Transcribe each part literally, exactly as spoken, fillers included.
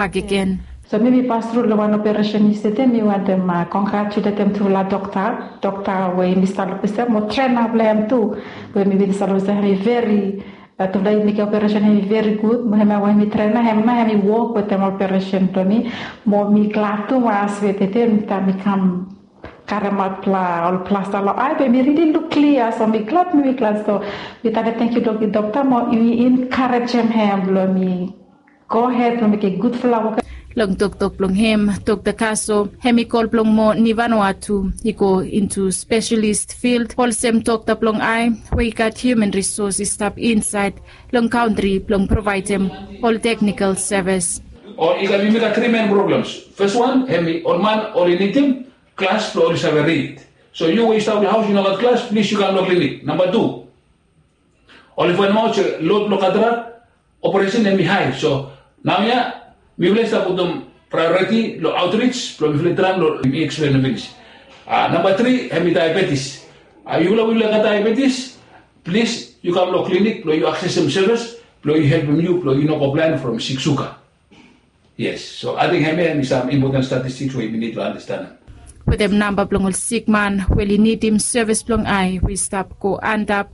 bakegen. So mi mi pas tru long wan operesen yestede, mi wantem konggratuletem tufala dokta, dokta we mi stap luksave mo trena blong hem tu, we mi bin stap luksave hem i veri, tufala i mekem operesen hem i veri gud, mo hem ya we mi trena hem na hem i wok wetem operesen blong mi, mo mi glad tumas we tede mi kam karemaot ol plasta long ai be mi rili luk klia, so mi glad mi glad. So mi talem tangkiu long dokta mo i enkarejem hem blong mi gohed blong mekem gudfala wok. Long toktok blong hem, Dokta Kaso hem i kol blong mo Nivanua tu i go intu spesialis fild olsem dokta blong ai we i gat hiuman risos i stap insaed long kantri blong provaedem ol teknikal sevis. Ol i gat, yumi gat tri men problems. Fes wan hem i ol man oli nidim klas blong oli save rid. So yu we yu stap long haos yu no gat klas, plis yu kam long klinik. Namba tu, oli faenemaot se lod blong katarak operesen hem i hae. So naoia mifala i stap putum praeoriti long aotrij blong mifala i traem long mi eksplen finis. Namba tri hem i daebetis. Yufala we yufala i gat daebetis, plis yu kam long klinik blong yu aksesem sevis blong yu helpem yu blong yu no go blaen from sik suga. Yes, so ating hemia hem i sam impoten statistiks we yumi nid long andastanem. Wetem namba blong ol sikman we oli nidim sevis blong ai we i stap go antap,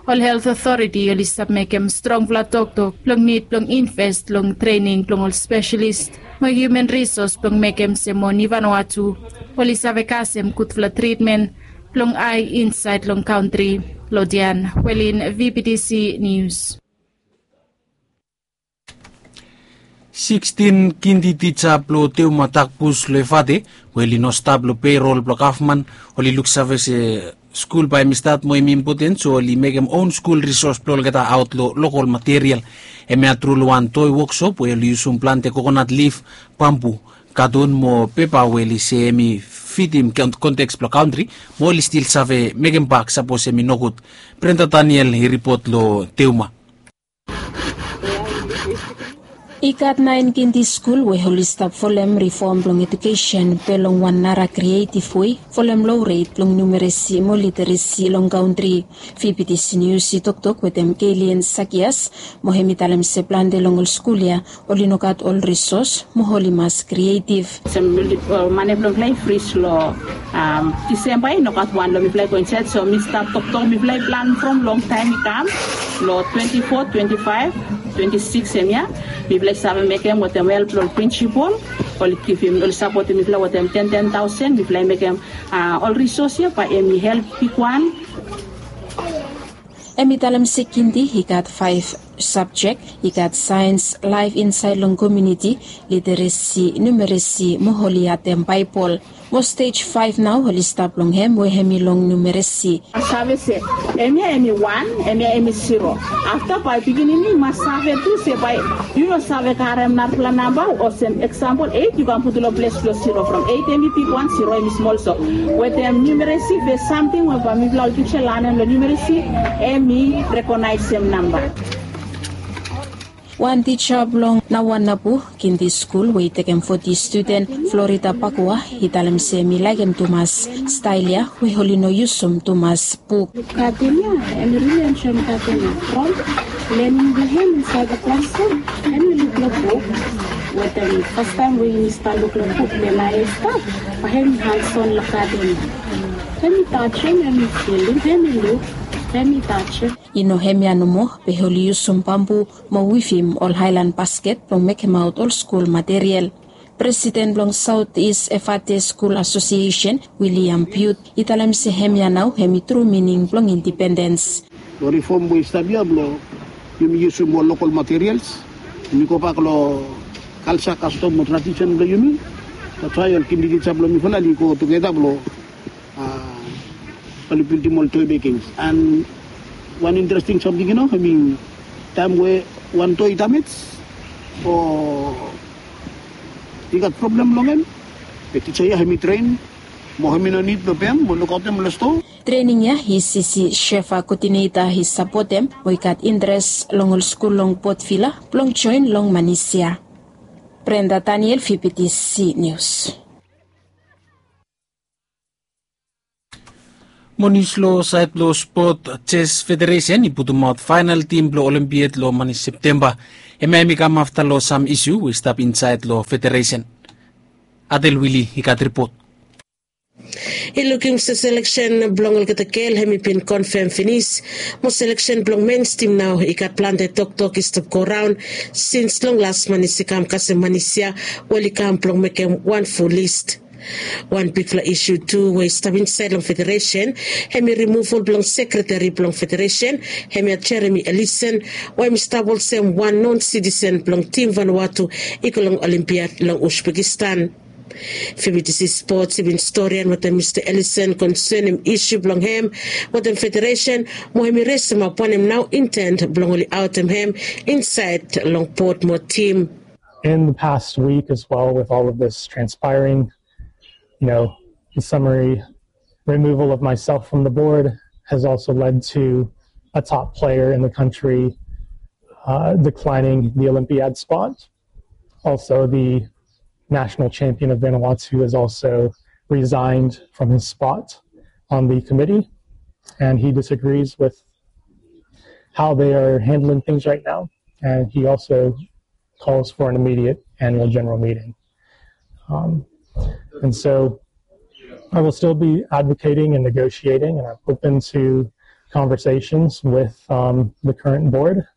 ol helt otoriti oli stap mekem strongfala toktok blong nid blong inves long trening blong ol spesialis mo hiuman risos blong mekem se mo Nivanua tu oli save kasem gudfala tritmen blong ai insaed long kantri. Lodian Welin, VBTC Nius. Sikstin kindi tija blong Teuma Takbus long Efate we oli no stap long peirol blong gavman, oli luksave se skul bae hem i stat mo hem i impoten, so oli mekem own skul risos blong olgeta aot long lokol material. Hemia tru long wan toi woksop we oli yusum plante kokonat lif, bambu, katun mo pepa we oli se hem i fitim konteks blong kantri, mo oli stil save mekem bak sapos hem i nogud. Brenda Daniel i ripot long Teuma. I gat naen kindi skul we oli stap folem rifom blong ejukesen be long wan nara krietiv wei, folem lo ret blong numeresi mo literesi long kantri. VBTC Nius i toktok wetem Keilian Sakias mo hem i talem se plante long ol skul ya oli no gat ol risos mo oli mas krietiv. Olsem mane blong mifala i fris long Disemba, i no gat wan long mifala i go insaed. So mi stap toktok, mifala i plan from longtaem i kam long twenti fo, twenti faef, twenti sikis hemia. Mifala i save mekem wetem help blong ol prinsipol, oli givim, oli sapotem mifala wetem ten ten taosen. Mifala i mekem ol risos ya bae hem i help bigwan. Hem i talem se kindi i gat faef sabjek, i gat saens, laef insaed long komuniti, literesi, numeresi mo oli atem Baebol. Mo stej faef nao oli stap long hem we hem i long numeresi. Save se hemia hem i wan, hemia hem i siro. Afta bae pikinini i mas save tu se bae yu no save karem narafala namba, olsem eksampol eit yu kam putum long ples blong siro. From eit hem i bigwan, siro hem i smol. So wetem numeresi be samting we bae mifala ol tija i lanem long numeresi, hem i rekonaesem namba. Wan tija blong Nawanabu Kindi Skul we i tekem foti studen, Florida Pakua, i talem se hem i laekem tumas stael ya we oli no yusum tumas buk. Gaden ya, hem i rili enjoem gaden ya. From lening blong hem insaed long klasrum, hem i luk long buk. Wetem fastaem we yumi stap luk long buk, den ae i stap, bae hem i hanson long gaden ya. Hem i tajem, hem i filim, hem i luk, hem i tajem. I no hemia nomo, be oli yusum bambu mo wivim ol aelan basket blong mekemaot ol skul material. Presiden blong Saot Is Efate Skul Asosiesen, William Piut, i talem se hemia nao hem i tru mining blong indipendens. Long rifom we i stap ya blong yumi yusum ol lokol materials, yumi gobak long kalja, kastom mo tradisen blong yumi. That's why ol kindi tija blong mifala oli go tugeta blong oli bildim ol toi mekings. And wan interesting samting, yu no, I mean, taem we wan toi i damej o i gat problem long hem, be tija ya hem i tren mo hem i no nid blong pem mo lukaotem long stoa. Trening ya i sisi Shefa Koodineta i sapotem we i gat interes long ol skul long Port Vila blong joen long manis ya. Brenda Daniel, VBTC Nius. Mo nius long saed blong spot, jes federesen i putumaot faenal tim blong olimpiad long mani septemba. Hemia hem i kam afta long sam isu we i stap insaed long federesen. Adel Wili i gat ripot. I lukim se seleksen blong olgeta gel hem i bin konfem finis, mo seleksen blong mens tim nao i gat plante toktok i stap go raon sins long las manis i kam kasem manis ya, we oli kam blong mekem wan ful lis. Wan bigfala isu tu we i stap insaed long federesen hem i rimuval blong sekreteri blong federesen, hemia Jeremi Elisen, we hem i stap olsem wan non sitisen blong tim Vanuatu i go long olimpiad long Uzbekistan. Fibitisi Spots i bin storian wetem Mista Elisen konsenem isu blong hem wetem federesen, mo hem i resemap wanem nao intent blong oli aotem hem insaed long bod mo tim. In the past week as well, with all of this transpiring, you know, the summary removal of myself from the board has also led to a top player in the country uh, declining the Olympiad spot. Also, the national champion of Vanuatu has also resigned from his spot on the committee, and he disagrees with how they are handling things right now. And he also calls for an immediate annual general meeting. Um, and so I will still be advocating and negotiating, and I'm open to conversations with um, the current board.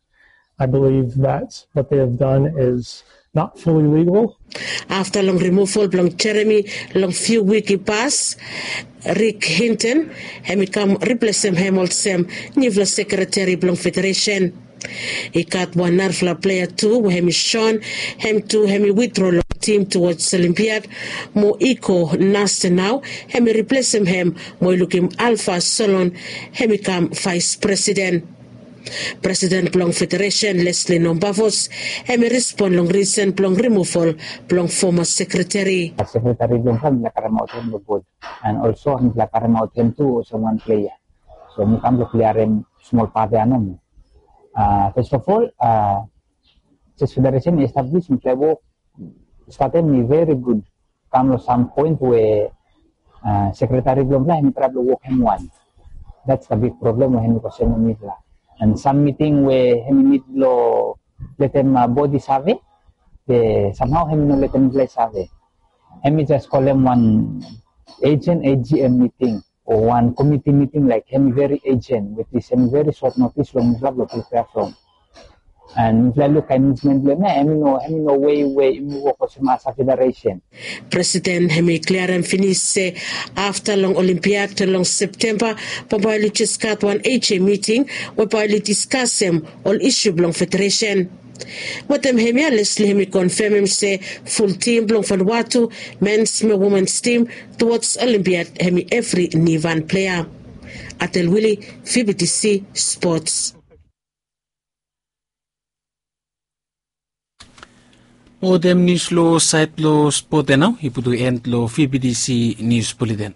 I believe that what they have done is not fully legal. Afta long rimuval blong Jeremi long fiu wik i pas, Rik Hinton hem i kam riplesem hem olsem niufala sekreteri blong federesen. I gat wan narafala plea tu we hem i son hem tu hem i witdro long tim tuwoj Olimpiad, mo i go nase nao hem i riplesem hem mo i lukim Alfa Solon hem i kam vaes presiden. Presiden blong federesen Lesli Nombavos hem i respon long risen blong rimuval blong foma sekreteri. Sekreteri blong hem i laik karemaot hem long bod, and also hem i laik karemaot hem tu olsem wan plea. So mi kam blong kliarem smol pat ya nomo. First of all, jes federesen i establis mifala i wok, statem i veri gud. Kam long sam poen we sekreteri blong mifala hem i traem blong wok hem wan. That's the big problem we hem i kosem long mifala. And sam miting we hem i nid blong letem bod i save, be samhao hem i no letem mifala i save. Hem i jes kolem wan ejen AGM miting o wan komiti miting laik hem i veri ejen, wetis hem i veri sot notis long mifala blong pripea from. And mifala i luk kaen muvmen blong hem ya, hem i no, hem i no wei we yumi wok olsem as a federesen. Presiden hem i kliarem finis se afta long Olimpiad long Septemba, bambae oli jes gat wan AJ miting we bae oli diskasem ol isu blong federesen. Wetem hemia Lesli hem i konfemem se ful tim blong Vanuatu, mens mo womens tim, tuwoj Olimpiad hem i evri nivan plea. Atel Wili, VBTC Spots. Wetem nius long saed blong spot ya nao i putum en long VBTC Nius Buleten.